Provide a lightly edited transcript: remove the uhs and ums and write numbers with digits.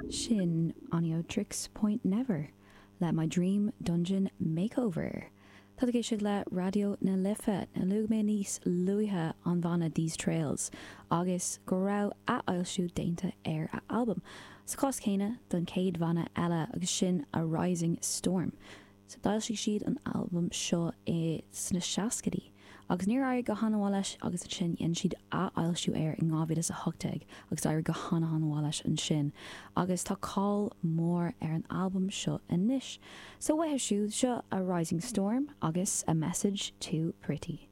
Sin Oneohtrix Point Never le My Dream Dungeon Makeover. Tá tú ag éisteacht le Raidió na Life. Luaigh mé níos luaithe an bhanna These Trails agus go raibh athfhoilsiú déanta ar a albam. Sa chás céanna don chéad bhanna eile agus sin A Rising Storm. So d'fhoilsigh siad an albam seo i sna seascaidí agus níor éirigh go han-mhaith leis agus ansin dhein siad athfhoilsiú air in 2018 agus d'éirigh go han-han-mhaith leis ansin agus tá cáil mhór ar an albam seo anois. So uathu siúd seo A Rising Storm agus A Message Too Pretty.